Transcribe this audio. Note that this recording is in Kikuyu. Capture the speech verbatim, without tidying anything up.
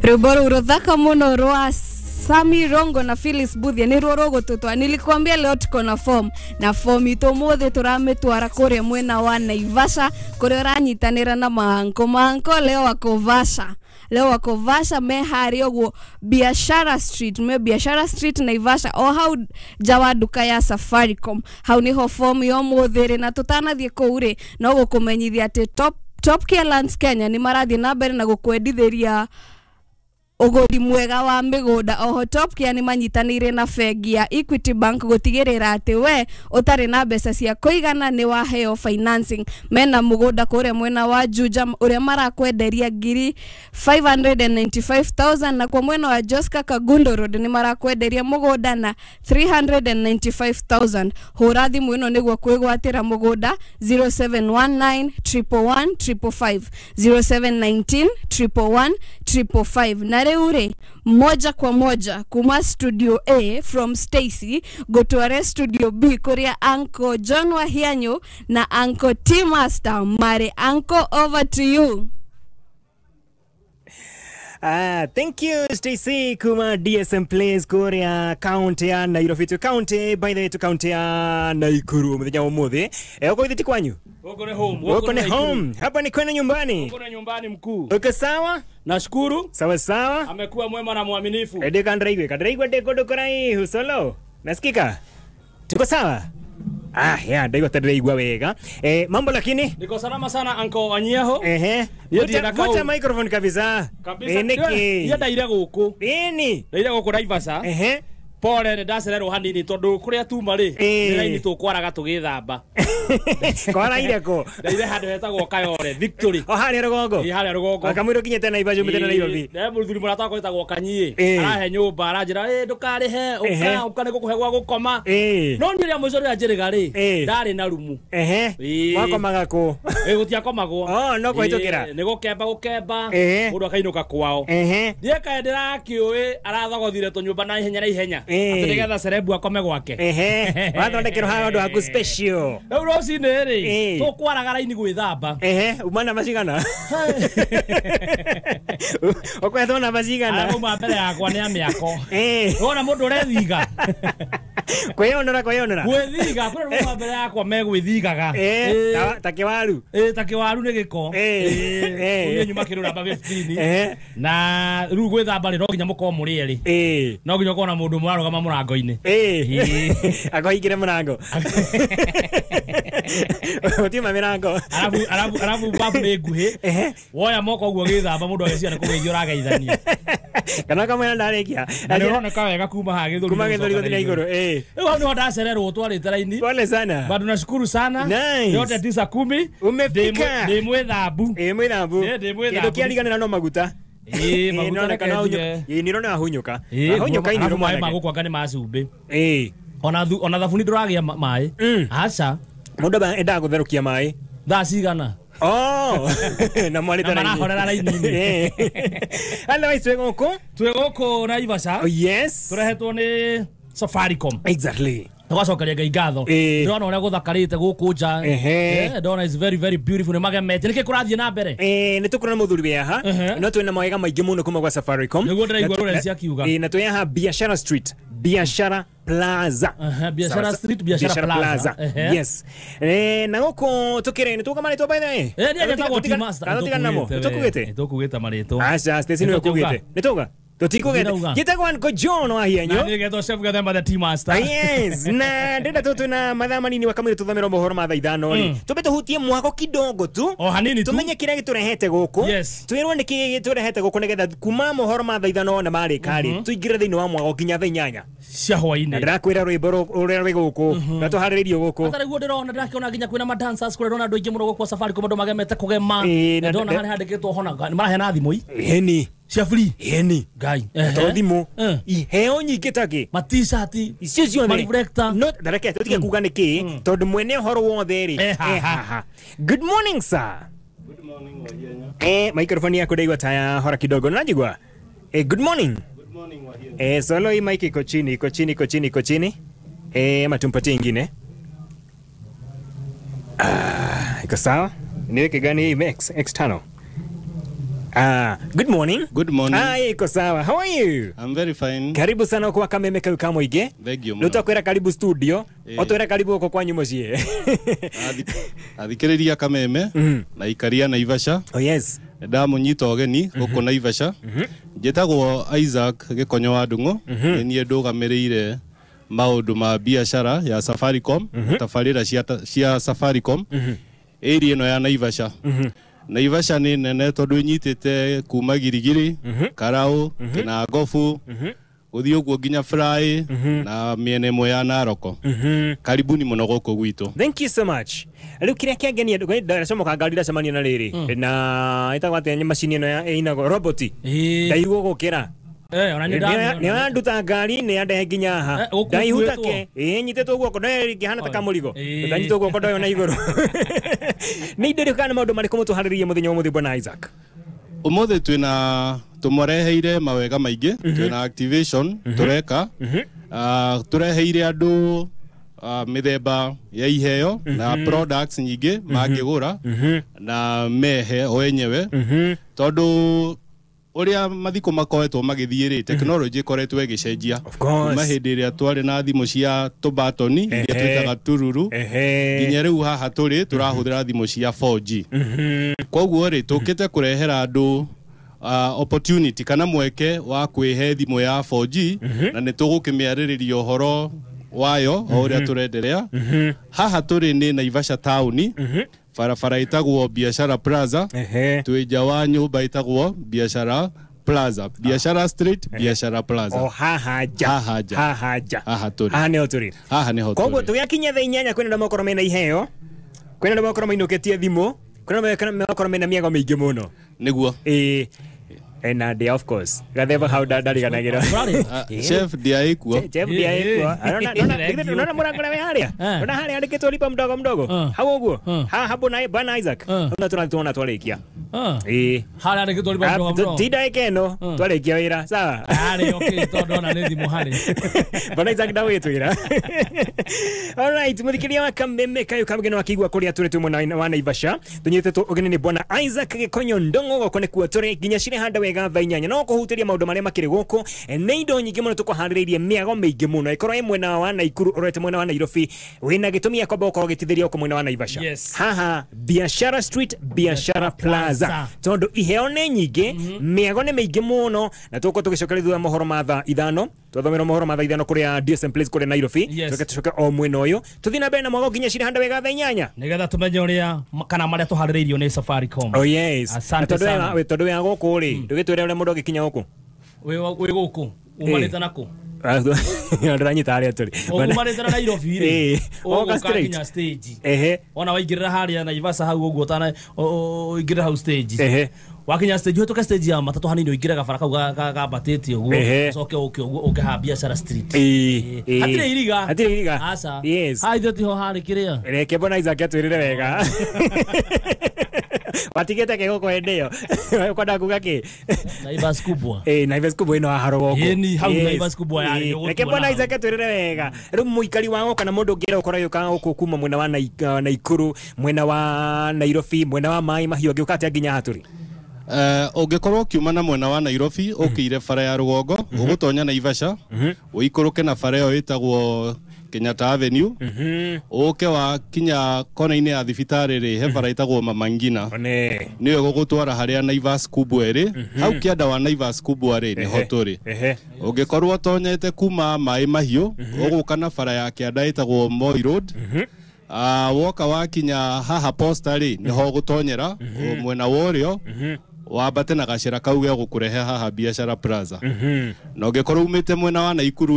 Rwimbo rũu rũthaka mũno rwa Sami Rongo na Phyllis Buthia nĩ ruo rũgũtũtwara. Nilikwambia leo tuko na form na form itũ mũthĩ tũramĩtwara kũrĩa mwena wa Naivasha kũrĩa ũranyitanĩra na maanko maanko leo wako Vasha, leo wako Vasha me harĩa ũguo Biashara Street, me Biashara Street Naivasha, o hau nja wa nduka ya Safaricom. Hau niho form ya ũmũthĩ rĩ, na tũtanathiĩ kũu rĩ, no gũkũmenyithia atĩ Top Top Care Lands Kenya nĩ marathiĩ na mbere na gũkwendithĩria ũgũri mwega wa mĩgũnda. Oho Top Care nĩ manyitanĩire na bengi ya Equity Bank gũtigĩrĩra atĩ we ũtarĩ na mbeca cia kũigana nĩ waheo financing. Mena mũgũnda kũrĩa mwena wa Juja ũrĩa marakwenderia ngiri five hundred ninety-five thousand, na kwa mwena wa Joska Kagundo Road nĩ marakwenderia mũgũnda na three hundred ninety-five thousand. Hũra thimũ ĩno nĩguo kwĩgwatĩra mũgũnda zero seven one nine triple one triple five, zero seven nineteen triple one triple five. Na rĩu rĩ, moja kwa moja kuma studio A from Stacy gũtware studio B kũrĩa Uncle John Wahianyu na Uncle T Master marĩ. Uncle, over to you. Ah, thank you Stacy kuma D S M Place kuria county ya Nairobi to county, by the way to county ya Nakuru muthenya wa umuthi. Eh, uko ithiti kwanyu? Uko ni home. Uko ni home. Hapa ni kwenu nyumbani. Uko ni nyumbani mkuu. Uko sawa? Nashukuru. Sawa sawa. Amekuwa mwema na mwaminifu. Ede kandraigwe, kandraigwe de kodo kurai husolo. Nasikika? Tuko sawa? Ah, ya, ndaigua tandiraigua wega. Eh, mambo lakini? Niko salama sana Uncle Wanyiaho. Ehe. Vuta microphone kabisa. Kabisa. Eh, niki. Niĩ ndaire gũkũ. Nini? Ndaire gũkũ Naivasha. Ehe. Pole nĩ ndacererwo hanini tondu kuria tuma rĩ, nĩ raini tũkwaraga tũgĩthamba. Kwaraire kũ? Ndaire handũ hetagwo Kayole Victory. O harĩa rũgongo? Ĩ harĩa rũgongo. Kamũira ũkinyĩte Naivasha umĩte na Nairobi. Nĩ mũthuri mũrata wakwa wĩtagwo Kanyie. Arahe nyũmba aranjĩra ĩ ndũkarĩhe, ũka ũka nĩ ngũkũhe gwa gũkoma. No niĩ rĩa mũico rĩrĩa njĩrĩga rĩ, ndarĩ na rumu. Ehe. Wakomaga kũ? Ĩ gũtiakomagwo. Oh, no kũhĩtũkĩra. Nĩ gũkemba gũkemba, mũndũ akainũka kwao. Ehe. Niĩ kaĩ ndĩrakĩũĩ arathogothire tũnyũmba na ihenya na ihenya. Atĩ nĩgetha cerebu akome gwake. Ehe. Wathondekerwo haha ũndũ waku special. Rĩu rũcinĩ rĩ, tũkwaraga raini gwĩthamba. Ehe, uma namba cigana? Ũkwethwo namba cigana? Arauma mbere yakwa nĩ a mĩako. Eh. Wona mũndũ ũrethiga. Kwĩyonora kwĩyonora. Gwĩthiga, kwĩ rũma mbere yakwa megwĩthigaga. Eh, ta kĩwaru. Eh, ta kĩwaru nĩ gĩko. Eh. Niĩ nyuma kĩrũ namba fifteen. Eh. Na rĩu gwĩthamba rĩ no nginya mũkorwo mũrĩ erĩ. Eh. No nginya ũkorwo na mũndũ mũrarũgama mũrango-inĩ. Eh. Akohingĩre mũrango. Ũtiuma mĩrango. Arabu arabu arabu babu nĩ nguhĩ. Ehe. Woya moko ũguo gĩthamba mũndũ ageciria nĩ kũgeithio ũrageithania. Kana kamwĩra ndarĩkia. Na nĩ ũroneka wega kuma haha gĩthũri. Kuma gĩthũri gũthiĩ na igũrũ. Eh. Rĩu hau nĩho ndacererwo twarĩte raini. Pole sana. Bado nashukuru sana. Nice. Yote tisa kumi. Umefika. Ndĩ mwĩthambu. Ĩ mwĩthambu. Ndĩ mwĩthambu. Kĩndũ kĩariganĩra no maguta. Ĩ maguta reke ĩ nĩ ũrona wahunyũka. Wahunyũka inĩ maĩ ma gũkũ anga nĩ ma cumbĩ. Ĩ. Ona ona thabuni ndũragĩa maĩ. Aca. Mũndũ endaga gũtherũkia maĩ. Thaa cigana? Oh, na mwarĩte raini. Na marahorera raini-inĩ. Otherwise twĩ gũkũ? Twĩ gũkũ Naivasha. Oh yes. Tũrehetwo nĩ Safaricom. Exactly. Tũgacokeria Ngai ngatho. Ndĩrona ũrĩa gũthakarĩte gũkũ nja. Eh, ndona is very very beautiful nĩ magemete. Nĩkĩ kũrathiĩ na mbere? Eh, nĩ tũkũrona mũthuri wĩ haha. No twĩna mawega maingĩ mũno kuma gwa Safaricom. Nĩguo ndĩraigua Lawrence akiuga. Eh, na twĩ haha Biashara Street. Biashara Plaza. Uh-huh, Biashara Street, Biashara Plaza. Uh-huh. Yes. Eh, na gũkũ tũkĩrĩ nĩ tũka marĩtwa by the way. Eh, niĩ njetagwo T Master. Tũtigana namo. Tũkugĩte? Tũkugĩte marĩtwa. Aca, Stacy nĩwe ũkugĩte. Nĩ tũga? Tutikugete. Gitagwo Uncle John Wahianyo. Na niĩ ngetwo Chef Gathemba the T Master. Yes, na ndĩrenda tũ twĩna mathaa manini wakamwĩra tũthomere mohoro ma thaa ithano rĩ. Tũmbe tũhutie mwako kidogo tu. O hanini tu. Tumenye kĩrĩa gĩtũrehete gũkũ. Yes. Twĩrwo nĩ kĩĩ gĩtũrehete gũkũ nĩgetha kuma mohoro ma thaa ithano na marĩka rĩ, tũingĩre thĩinĩ wa mwako nginya thaa inyanya cia hwainĩ. Na ndĩrakwĩra rwĩmbo rũrĩa rwĩ gũkũ na tũharĩrĩirio gũkũ. Ata rĩguo ndĩrona ndĩrakĩona nginya kwĩna ma dancers kũrĩa ndĩrona andũ aingĩ mũno gũkũ Safaricom andũ magemete kũgema. Ndĩrona harĩa handĩkĩtwo hona nĩ maraheana thimũ i. Ĩni. Cia free. Ĩni. Ngai. To thimũ. Iheo nyingĩ ta kĩ? Ma t-shirt. Icio ciothe. Ma reflector. No, reke tũtige kuga nĩ kĩ tondũ mwene ũhoro wothe rĩ. Eh haha. Good morning sir. Good morning Wahianya. Eh, microphone yako ndaigua taya hora kidogo. Unajigua? Eh, good morning. Good morning Wahianya. Eh, solo hii mic iko chini, iko chini, iko chini, iko chini. Eh, ama tumpatie ingine. Ah, iko sawa? Niweke gani hii X X tano? Ah, good morning. Good morning. Ah, iko sawa. How are you? I'm very fine. Karibu sana kwa Kameme kau Kamuingi. Thank you. Nutakwira karibu studio. Otwira karibu uko kwanyu mucii. Athikiriria Kameme na ikaria Naivasha. Oh yes. Ndamunyita ũgeni gũkũ Naivasha. Njĩtagwo Isaac Gĩkonyo wa Ndung'u. Nĩ niĩ ndũgamĩrĩire maũndũ ma biacara ya Safaricom, tabarĩra cia cia Safaricom area ĩno ya Naivasha. Naivasha nĩ nene tondũ ĩnyitĩte kuma Girigiri, Karau, Kinangobu, gũthiĩ ũguo nginya Fry na mĩena ĩmwe ya Naroko. Karibuni mũno gũkũ gwitũ. Thank you so much. Rĩu kĩrĩa kĩangenia ndacomoka ngari ndacemania na rĩrĩ na ĩtagwo atĩa macini ĩno ya ĩinagwo roboti ndaigua gũkĩra. Eh, ona ni ndamĩ. Nĩ wanduta ngari nĩ andehe nginya haha. Ndaihuta ke. Ĩ nyitĩtwo guoko ndoyo ĩngĩhana ta kamũrigo. Ndanyitwo guoko ndoyo na igũrũ. Nĩ indo irĩkũ kana maũndũ marĩkũ mũtũharĩrĩirie mũthenya ũmũthĩ bwana Isaac? Ũmũthĩ twĩna tũmũreheire mawega maingĩ, twĩna activation tũreka. Ah, tũreheire andũ mĩthemba ya iheo na products nyingĩ mangĩgũra na mehe o enyewe tondũ uria mathiko makoretwo magithie ri technology ikoretwo igicenjia kuma hindi iria twari na thimu cia tubatoni iria twitaga tururu nginya riu haha turi turahuthira thimu cia four G. Koguo ri tukite kurehera andu opportunity kana mweke wa kwihe thimu ya four G na ni tugukimiaririria uhoro wayo o uria turenderea. Haha turi ni Naivasha town, barabara itagwo Biashara Plaza, twi nja wa nyumba itagwo Biashara Plaza, Biashara Street, Biashara Plaza. O haha nja, haha nja, haha nja, haha turi, haha niho turi, haha niho turi. Koguo tugiakinya thaa inyanya kwina andu makorwo mena iheo, kwina andu makorwo mainukitie thimu, kwina andu makorwo mena miago miingi muno. Niguo ii ena dia of course gatheba hau ndariganagĩra chef dia ikuo chef dia ikuo arona nona nona mũrango we haria nona haria andĩkĩtwo lipa mdogo mdogo hau ũguo ha hapo na bwana Isaac nona tũratũona twarĩkia ĩĩ haria andĩkĩtwo lipa mdogo mdogo ti ndagĩka ĩno twarĩkia wĩra sawa harĩ okay tondũ ona nĩ thimũ harĩ bwana Isaac ndawĩtwĩra. All right, mũthikĩria wa Kameme kayo kamgeno akigua kũrĩa tũrĩ twĩ mwena wa Naivasha tũnyitĩtwo ũgeni nĩ bwana Isaac Gĩkonyo Ndung'u gũkũ nĩkuo tũrĩ nginya cirĩ handa wega thaa inyanya no kũhutĩria maũndũ marĩa makĩrĩ gũkũ nĩ indo nyingĩ mũno tũkũharĩrĩirie mĩago mĩingĩ mũno ĩkorwo ĩ mwena wa Naikuru ũrorete mwena wa Nairobi wĩna gĩtũmi gĩa kwamba gũkorwo ũgĩtithĩria gũkũ mwena wa Naivasha. Haha Biashara Street, Biashara Plaza tondũ iheo nĩ nyingĩ, mĩago nĩ mĩingĩ mũno na tũgũkorwo tũgĩcokeria thutha mohoro ma thaa ithano twathomera mohoro ma thaa ithano kũrĩa D S M Place kũrĩa Nairobi tũke tũcoke o mwena ũyũ tũthiĩ na mbere na mwago nginya cirĩ handa wega thaa inyanya nĩgetha tũmenye ũrĩa kana marĩa tũharĩrĩirio nĩ Safaricom. Oh yes. Tondũ tondũ wĩ gũkũ rĩ ndũgĩtwĩre ũrĩa mũndũ angĩkinya gũkũ wĩ wĩ gũkũ umarĩte nakũ ndĩranyita harĩa tũrĩ umarĩte na Nairobi rĩ ũgoka straight stage ehe ona waingĩrĩra harĩa Naivasha hau ũguo ũtana ũingĩrĩra hau stage ehe wakinya stage ũhĩtũke stage ya matatũ hanini ũingĩre gabara kau gambatĩte ũguo ũcoke ũke ũguo ũke haha Biashara Street hatirĩ iriga hatirĩ iriga aca yes ha ithuĩ tiho harĩ kĩrĩa reke bwana Isaac atwĩrĩre wega watigĩte ke gũkũ hĩndĩ ĩyo ũkwenda kuga kĩ Naivas kubwa eh Naivas kubwa ĩno haha rũgongo ĩni hau Naivas kubwa yarĩ reke bwana Isaac atwĩrĩre wega rĩu mũikari wa gũka na mũndũ ũngĩenda gũkorwo agĩũka gũkũ kuma mwena wa Naikuru mwena wa Nairobi mwena wa Maĩ Mahiũ angĩũka atĩa nginya haha tũrĩ? Ũngĩkorwo ũkiuma na mwena wa Nairobi ũkĩire bara ya rũgongo ũgũtonya Naivasha ũikũrũke na bara ĩyo ĩtagwo Kenyatta Avenue ũke wakinya kona-inĩ ya thibitarĩ rĩ he bara ĩtagwo Mama Ngina nĩyo ĩgũgũtwara harĩa Naivas kubwa ĩrĩ hau kĩanda wa Naivas kubwa rĩ nĩho tũrĩ. Ũngĩkorwo ũtonyete kuma Maĩ Mahiũ ũgũka na bara ya kĩanda ĩtagwo Moi Road woka wakinya haha Posta rĩ nĩho ũgũtonyera mwena wa ũrĩo wambate na gacĩra kau gegũkũrehe haha Biashara Plaza. Na ũngĩkorwo umĩte mwena wa Naikuru